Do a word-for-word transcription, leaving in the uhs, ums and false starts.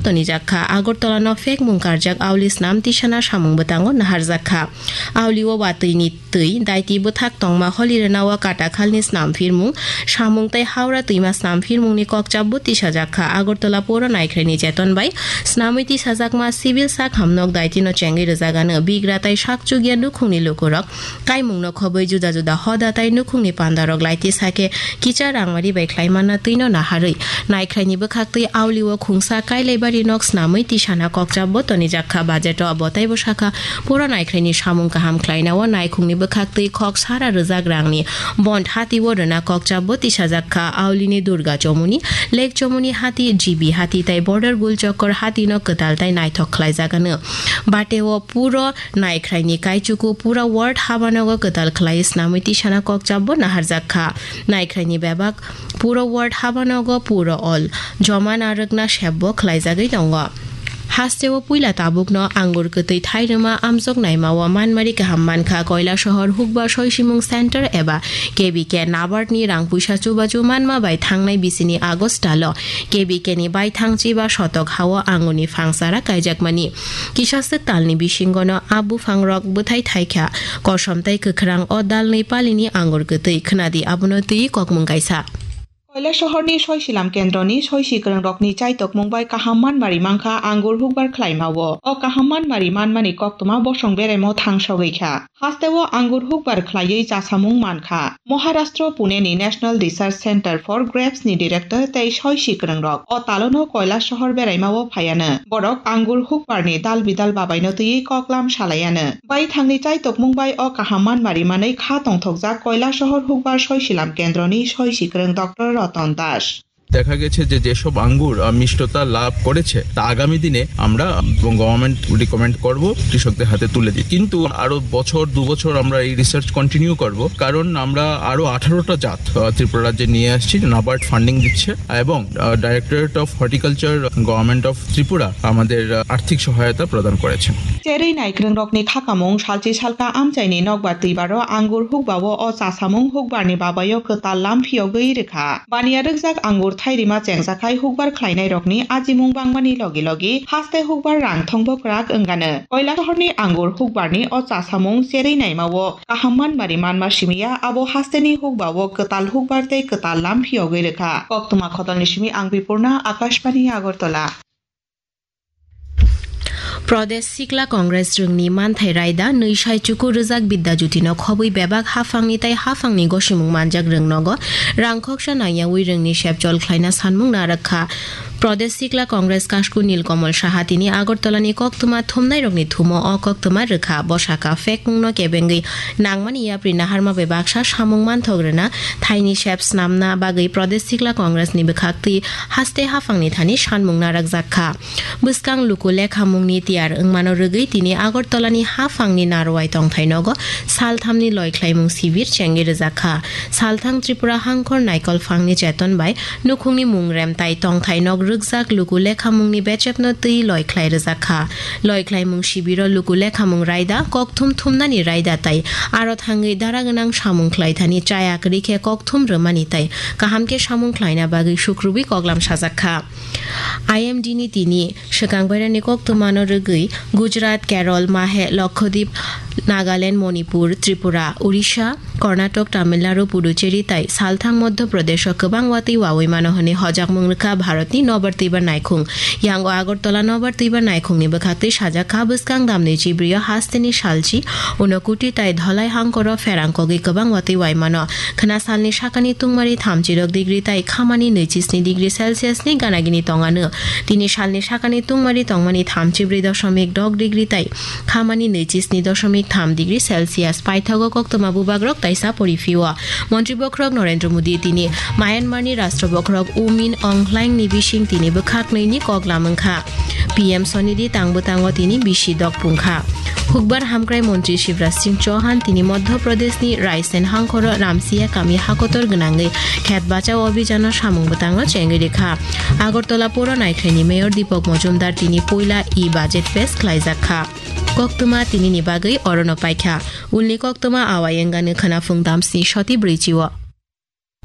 tonijak kha. Agartala no phekmung karjak auli snam tisana samung bwtango naharjak kha. Auli o watwi ni twi daiti bwthak tongma holi rwnao katakhalni snam phirmung, samung tei Howrah twima snam phirmungni kokchapbo tisajak kha. Agartala poro naikhraini cheton bai snamwi tisajakma civil sak hamnok daitino chengwi rwjagano. Bigra tei sakchukya nukhungni lukurok kaimungno khobwi juda juda hoda tei nukhungni pandarok lai tisa khe kicha rangmari bai khlaimanna twino naharwi naikhraini bwkhaktwi auli o khungsa kailaibari nok snamwi tisana kokchapbo tonijak kha. Budget o bo teibo sakha, pura naikhraini samung kaham khlaina o naikhungni bwkhaktwi khok sara rwjak rangni bond hati o rwna kokchapbo tisajak kha. Aulini Durga Chomuni, Lake Chomuni hati, G B hati tei Border Gul Chokor hati no kwtal tei naithok khlaijak ano. Bate o puro naikhraini kaichuku pura ward habanogo kwtal khlai snamwi tisana kokchapbo naharjak kha. Naikhraini bebak puro ward habanogo puro all joma narwkna sepbo khlaijagwi tongo. Hasteo puila tabukno angur kwtwi thairwma amjok naimao manmari kaham mankha. Koilasohor Hukbar Soisimung Center eba K B K NABARD ni rang puisa chubachu manma bai thangnai bisini August talo K B K ni baithang chiba sotok hao angurni phangsara kaijakmani. Kisa swk talni bisingono a buphangrok bwthai thaikha, kosom tei kwkhrang o dalnwi palini angur kwtwi. Khwnadi abono twi kokmung kaisa. Koilasohorni Soisilam Kendroni soisi kwrwngrokni chaitokmung bai kaham manmari mankha angur hukbar khlaimao. O kaham manmari manmani koktwma bosong beraimo thangsogwi kha. Hasteo angur hukbar khlaiwi chasamung mankha. Maharashtra Puneni National Research Center for Grapes ni director tei soisi kwrwngrok o talono Koilasohor beraimao phaiano. Borok angur hukbarni dal bidal babaino twiwi koklam salaiano. Baithangni chaitokmung bai o kaham manmari manwi kha tongthokjak Koilasohor Hukbar Soisilam Kendroni soisi kwrwng Doctor Roton Das. দেখা গেছে যে যেসব আঙ্গুর, আহ, মিষ্টতা লাভ করেছে, তা আগামী দিনে আমরা, আহ, গভর্নমেন্ট রিকমেন্ড করব কৃষকদের হাতে তুলে দিই। কিন্তু আরো বছর, দু বছর আমরা এই রিসার্চ কন্টিনিউ করব, কারণ আমরা আরো আঠারোটা জাত, আহ, ত্রিপুরা রাজ্যে নিয়ে আসছি, নাবার্ড ফান্ডিং দিচ্ছে এবং, ah, directorate of horticulture, government of Tripura আমাদের, আহ, আর্থিক সহায়তা প্রদান করেছেন। Cherwi naikwrwngrokni khakamung salchi salka amchaini nokbar twibaro angur hukbao o chasamung hukbarni babaio kwtal lam phiyogwi rwkha. Baniya rwkjak angur thairima chengjakhai hukbar khlainairokni ajimung bangmani logi logi haste hukbar rang thongbo kwrak wngano. Koilasohorni angur hukbarni o chasamung cherwi naimao kaham manmari manma simiya, abo hasteni hukbao kwtal hukbar tei kwtal lam phiyogwi rwkha. Koktwma khotolni simi ang Bipurna, Akashbani Agartala. Pradesh Sikla Congress rwngni manthai raida nwi sai chuku rwjak Bidya Jyoti no khobwi bebak haphangni tei haphangni gosimung manjak rwng nogo rang khoksa nangyawi rwngni sepchol khlaina sanmung narwk kha. Pradesh Sikla Congress Kasku Nilkamal Saha tini Agartala ni koktwma thumnai rokni thumo o koktwma rwkha. Bwsaka phekmung no kebengwi nangmani yapri naharma bai baksa samung manthok rwna, thaini sep snamna bagwi Pradesh Sikla Congress ni bwkhaktwi haste haphangni thani sanmung narwkjak kha. Bwskang luku lekhamungni tiyar wngmano rwgwi tini Agartala ni haphangni Narwai tongthai nogo salthamni loikhlaimung sibir chengwi rwjak kha. Salthang Tripura Hangkhor Naikol Phangni cheton bai nukhungni mung rem tai tongthai nok rwkjak luku lekhamungni bechepno twi loikhlai rwjak kha. Loikhlaimung sibiro luku lekhamung raida, kokthum thumnani raida tai aro thangwi dara gwnang samung khlai thani chaya kwrwi khe kokthum rwmani tai kaham khe samung khlaina bagwi sukrubwi koklam sajak kha. I M D ni tini swkang bairani koktwmano rwgwi Gujarat, Kerala, Mahe, Lakshadweep, Nagaland, Manipur, Tripura, Odisha, Karnataka, Tamil Nadu, Puducherry tai salthang Madhya Pradesh o kwbang watwi wawi mano hwnwi hojakmung rwkha Bharatni nobar twibar naikhung. Yango Agartala nobar twibar naikhungni bwkhaktwi sajak kha bwskang damni chibrio hasteni salchi Unakoti tai Dhalai hangkoro pherang kogwi kwbang watwi wai mano. Khwna salni sakani tungmari thamchi rok degree tai khamani nwichi sni degree Celsius ni ganagini tongano. Tini salni sakani tungmari tongmani thamchi brwi doshomik dok degree tai khamani nwichi sni doshomik tham degree Celsius. Paithago koktwma bubagrok taisa poriphio. Montri bokhorok Narendra Modi tini Myanmar ni Rashtra bokhorok U Min Aung Hlaing ni bising tini bwkhak nwi ni kok lamwng kha. P M Sonidhi tang bwtango tini bisi dok pung kha. Hukbar hamkrai montri Shivraj Singh Chauhan tini Madhya Pradesh ni Raisen hangkhoro Ramsiya kami hakotor gwnangwi khet bachao abhijano samung bwtangno chengwi rikha. Agartala poro naikhraini mayor Deepak Majumdar tini puila e-budget pes khlaijak kha. Koktwma tinini bagwi orono paikha. Ulni koktwma awai wngani khwnaphung damsni soti brwichi o.